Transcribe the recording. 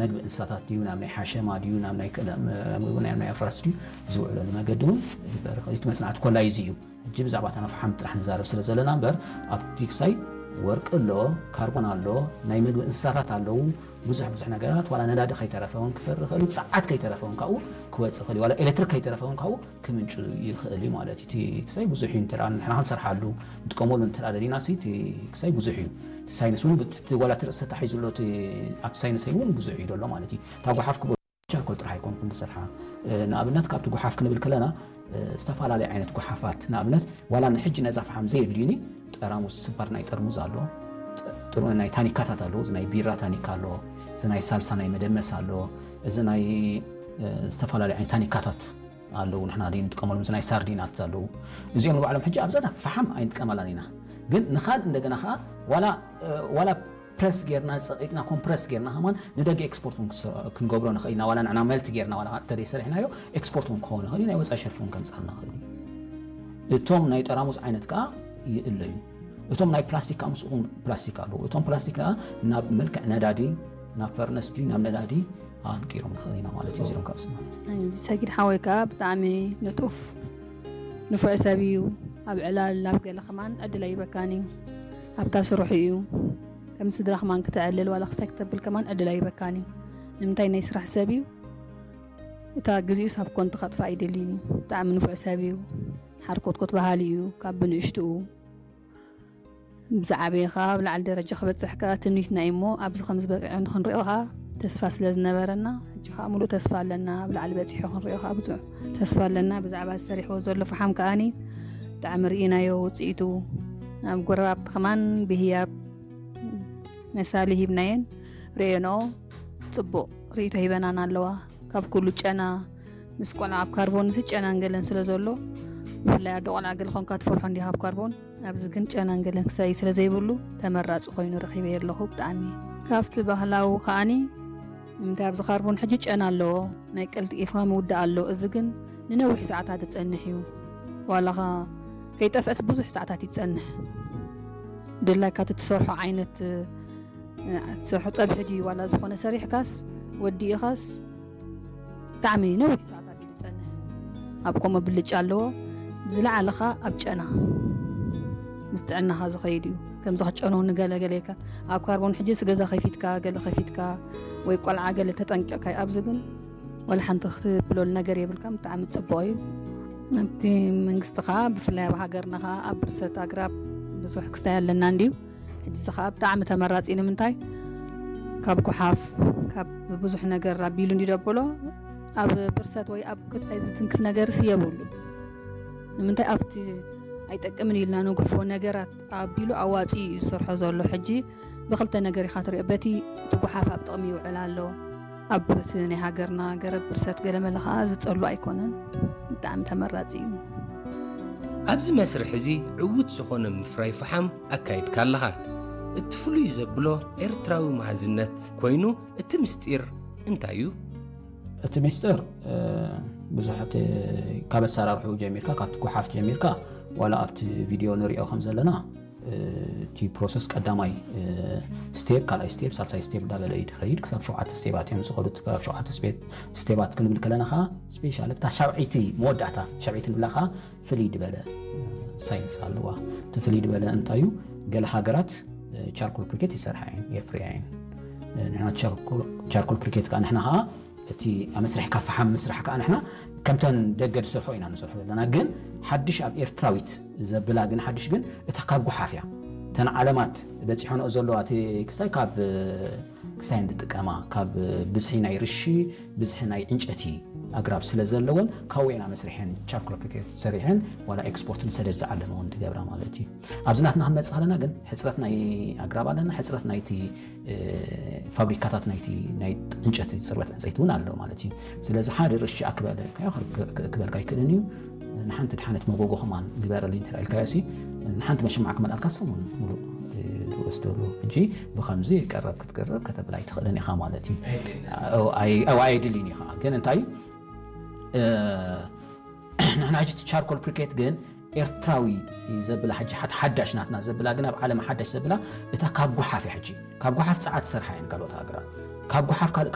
መግቢ እንስሳታት ድዩ፣ ናብ ናይ ሓሸማ ድዩ፣ ናብ ናይ ክእለ-፣ መ-፣ መግቢ ናይ፣ ናይ ኣፍራስ ድዩ ዝውዕለሉ መገዲ እውን ይበርኸ። እቲ መጽናዕቲ ኮላ እዚ እዩ። ሕጂ ብዛዕባ እታ ፈሓም ጥራሕ ንዛረብ ስለ ዘለና እምበር፣ ኣብቲ ክሳይ ወርቂ ኣሎ፣ ካርቦን ኣሎ፣ ናይ መግቢ እንስሳታት ኣለዉ፣ ብዙሕ ብዙሕ ነገራት፣ ዋላ ነዳዲ ከይተረፈ እውን ክፈሪ ይኽእል እዩ፣ ጸዓት ከይተረፈ እውን ካብኡ ክወጽእ ይኽእል እዩ፣ ዋላ ኤሌክትሪክ ከይተረፈ እውን ካብኡ ክምንጩ ይኽእል እዩ ማለት እዩ። እቲ ክሳይ ብዙሕ እዩ፣ እንተ ደኣ ንሕና ክንሰርሓሉ ንጥቀመሉ እንተ ደኣ ደሊና ሲ፣ እቲ ክሳይ ብዙሕ እዩ። እቲ ሳይንስ እውን ብት-፣ እቲ ዋላ እቲ ርእሲ ተታሒዙ ኣሎ፣ እቲ ኣብቲ ሳይንስ እውን ብዙሕ እዩ ዘሎ ማለት እዩ። እታ ጓሓፍ ክብ-፣ ቻርኮል ጥራሕ ኣይኮንኩን ዝሰርሓ። እ፣ ንኣብነት ካብቲ ጓሓፍ ክንብል ከለና፣ እ፣ ዝተፈላለየ ዓይነት ጓሓፋት፣ ንኣብነት ዋላ ንሕጂ ነዛ ፈሓም ዘየድልዩኒ ጠራሙዝ፣ ስባር ናይ ጠርሙዝ ኣሎ፣ ጥ-፣ ጥሩ ናይ ታኒካታት ኣሎ፣ እዚ ናይ ቢራ ታኒካ ኣሎ፣ እዚ ናይ ሳልሳ ናይ መደመስ ኣሎ፣ እዚ ናይ፣ እ፣ ዝተፈላለየ ዓይነት ታኒካታት ኣለዉ፣ ንሕና ደይ ንጥቀመሎም፣ እዚ ናይ ሳርዲናት ኣለዉ። እዚኦም ንባዕሎም ሕጂ ኣብዛታ ፈሓም ኣይንጥቀመላን ኢና። ግን ንኻል እንደገና ኸዓ ዋላ፣ እ፣ ዋላ ፕረስ ጌርና፣ ጸቒጥና፣ ኮምፕረስ ጌርና ከማን ንደገ ኤክስፖርት እውን ክስ-፣ ክንገብሮ ንኽእል ኢና። ዋላ ንዕና መልት ጌርና፣ ዋላ እንተ ደይ ሰሪሕናዮ፣ ኤክስፖርት እውን ክኸውን ይኽእል እዩ፣ ናይ ወጻኢ ሸርፊ እውን ከምጽኣልና ይኽእል እዩ። እቶም ናይ ጠራሙዝ ዓይነት ከኣ ይእለዩ። እቶም ናይ ፕላስቲክ ከኣ ምስኡ ፕላስቲክ ኣለዉ። እቶም ፕላስቲክ ከኣ ናብ መልክዕ ነዳዲ፣ ናብ ፈርነስ ድዩ፣ ናብ ነዳዲ ኣንቂሮም ንኽእል ኢና ማለት እዩ፣ እዚኦም ካብ ስማ። ሰጊድ ሓወይ ከኣ ብጣዕሚ ንጡፍ ንፉዕ ሰብ እዩ። ኣብ ዕላል፣ ኣብ ገለ ከማን ዕድል ኣይበካን እዩ። ኣብታ ስርሑ እዩ። ከም ስድራ ከማን ክተዕልል ዋላ ክስታይ ክተብል ከማን ዕድል ኣይበካን እዩ። ንምንታይ ናይ ስራሕ ሰብ እዩ። እታ ግዜኡ ሳብ ኮንቱ ከጥፋእ ኣይደልን እዩ። ብጣዕሚ ንፉዕ ሰብ እዩ። ሓርኮትኮት በሃሊ እዩ። ካብ ብንእሽትኡ ብዝዓበየ ከኣ ኣብ ላዕሊ ደረጃ ክበጽሕ ከኣ ትምኒትና እዩ እሞ፣ ኣብዚ ከም ዝበቅዐ ንኽንሪኦ ከኣ ተስፋ ስለ ዝነበረና፣ ሕጂ ከኣ ሙሉእ ተስፋ ኣለና። ኣብ ላዕሊ በጺሑ ክንሪኦ ከኣ ብዙሕ ተስፋ ኣለና። ብዛዕባ ዝሰሪሕዎ ዘሎ ፈሓም ከኣኒ ብጣዕሚ ርኢናዮ ውጽኢቱ። ኣብ ጎረባብቲ ከማን ብህያብ መሳሊ ሂብናየን ርእየንኦ። ጽቡቕ ርእይቶ ሂበናን ኣለዋ። ካብ ኩሉ ጨና ምስ ቆልዓ ኣብ ካርቦን ንሲ ጨናን ገለን ስለ ዘሎ፣ ብፍላይ ኣዶ ቆልዓ ገለ ኾንካ ትፈርሖ እንዲኻ ኣብ ካርቦን። ኣብዚ ግን ጨናን ገለን ክሳይ ስለ ዘይብሉ ተመራጺ ኮይኑ ረኺበዮ ኣለኹ። ብጣዕሚ ካብቲ ባህላዊ ከኣኒ ንምንታይ ኣብዚ ካርቦን ሕጂ ጨና ኣለዎ፣ ናይ ቀልጢፍካ ምውዳእ ኣሎ። እዚ ግን ንነዊሕ ሰዓታት ዝጸንሕ እዩ። ዋላኻ ከይጠፍአስ ብዙሕ ሰዓታት ይጸንሕ። ድላይካ እቲ ትሰርሖ ዓይነት፣ እ፣ ትሰርሖ ጸብሒ ድዩ ዋላ ዝኾነ ሰሪሕካስ ወዲእኻስ ብጣዕሚ ነዊሕ ሰዓታት እዩ ዝጸንሕ። ኣብ ከምኡ ብልጫ ኣለዎ። ዝለዓለ ኸኣ ኣብ ጨና ምስ ጥዕናኻ ዝኸይድ እዩ። ከምዚ ክትጨኑ ንገለ ገለ ኢልካ ኣብ ካርቦን ሕጂስ ገዛ ከፊትካ፣ ገለ ከፊትካ ወይ ቆልዓ ገለ ተጠንቂቕካ እዩ። ኣብዚ ግን ወላ ሓንቲ ክትብለሉ ነገር የብልካን። ብጣዕሚ ጽቡቕ እዩ። ኣብቲ መንግስቲ ኸኣ ብፍላይ ኣብ ሃገርና ኸኣ ኣብ ብርሰት ኣግራብ ብዙሕ ክስታይ ኣለና እንድዩ። ሕጂ እዚ ኸኣ ብጣዕሚ ተመራጺ እዩ። ንምንታይ? ካብ ጓሓፍ፣ ካብ ብዙሕ ነገር ኣቢሉ እንድዩ ደብሎ። ኣብ ብርሰት ወይ ኣብ ክስታይ ዝትንክፍ ነገርስ የብሉ። ንምንታይ? ኣብቲ ኣይጠቅምን ኢልና ንጉሕፎ ነገራት ኣቢሉ ኣዋጺኡ እዩ ዝሰርሖ ዘሎ። ሕጂ ብኽልተ ነገር ኢኻ ትሪኦ። በቲ እቲ ጓሓፍ ኣብ ጥቕሚ ይውዕል ኣሎ። ኣብ እቲ ናይ ሃገርና ገረብ ብርሰት ገለመለ ኸኣ ዝጸሉ ኣይኮነን። ብጣዕሚ ተመራጺ እዩ። ኣብዚ መስርሕ እዚ ዕዉት ዝኾነ ምፍራይ ፈሓም ኣካይድካ ኣለኻ። እቲ ፍሉይ ዘብሎ ኤርትራዊ መሃዝነት ኮይኑ፣ እቲ ምስጢር እንታይ እዩ? እቲ ምስጢር፣ እ፣ ብዙሕ እቲ ካብ ኣሰራርሕኡ ጀሚርካ፣ ካብቲ ጓሓፍ ጀሚርካ፣ ዋላ ኣብቲ ቪድዮ ንሪኦ ከም ዘለና፣ እ፣ እቲ ፕሮሰስ ቀዳማይ፣ እ፣ ስቴፕ፣ ካልኣይ ስቴፕ፣ ሳልሳይ ስቴፕ እንዳበለ እዩ ዝኸይድ። ክሳብ ሸውዓተ ስቴባት እዮም ዝኸዱ። ክሳብ ሸውዓተ ስቴፕ፣ ስቴባት ክንብል ከለና ኸዓ፣ ስፔሻሊ እታ ሻብዐይቲ መወዳእታ፣ ሻብዐይቲ ንብላ ኸዓ ፍልይ ዝበለ፣ እ፣ ሳይንስ ኣለዋ። እቲ ፍልይ ዝበለ እንታይ እዩ? ገለ ሃገራት፣ እ፣ ቻርኮል ብሪኬት ይሰርሓ እየን፣ የፍርያ እየን። እ፣ ንሕና ቻርኮል፣ ቻርኮል ብሪኬት ከኣ ንሕና ኸዓ እቲ ኣብ መስርሕ ካብ ፈሓም ምስራሕ ከኣ ንሕና ከምተን ደገ ዝሰርሖ ኢና ንሰርሖ ዘለና። ግን ሓድሽ ኣብ ኤርትራዊት ዘብላ ግን ሓድሽ ግን እታ ካብ ጓሓፍ እያ። እተን ዓለማት በጺሖንኦ ዘለዋ እቲ ክሳይ ካብ፣ ክሳይ እንጥቀማ ካብ ብዝሒ ናይ ርሺ፣ ብዝሒ ናይ ዕንጨቲ ኣግራብ ስለ ዘለወን ካብኡ ኢና መስሪሐን ቻርኮል ብሪኬት ሰሪሐን ዋላ ኤክስፖርት ንሰደድ ዝዓለመ እውን ዝገብራ ማለት እዩ። ኣብዚ ናትና ክንመጽእ ከለና ግን ሕጽረት ናይ ኣግራብ ኣለና፣ ሕጽረት ናይቲ እ፣ ፋብሪካታት ናይቲ ናይ ዕንጨቲ ጽርበት ዕንጸይቲ እውን ኣሎ ማለት እዩ። ስለዚ ሓደ ርሺ ኣክበል ኢልካዮ ክር-፣ ክ-፣ ክ-፣ ክበልካ ኣይክእልን እዩ። ንሓንቲ ድሓነት መጎጎ ከማን ግበረለይ እንተ ኢልካዮ ሲ፣ ንሓንቲ መሸማዕ ክመልኣልካ ሰሙን ሙሉእ፣ እ፣ ዝወስደሉ። ሕጂ ብኸምዚ ቀረብ ክትቅርብ ከተብል ኣይትኽእልን ኢኻ ማለት እዩ። ኣይድልን። ኣው፣ ኣይ-፣ ኣው፣ ኣየድልን እዩ ኸዓ። ግን እንታይ እዩ? እ፣ ንሕና ሕጂ እቲ ቻርኮል ብሪኬት ግን ኤርትራዊ ዘብላ ሕጂ ሓድ-፣ ሓዳሽ ናትና ዘብላ ግን ኣብ ዓለም ሓዳሽ ዘብላ እታ ካብ ጓሓፍ እያ። ሕጂ ካብ ጓሓፍ ጸዓት ዝሰርሓ እየን ካልኦት ሃገራት። ካብ ጓሓፍ ካልእ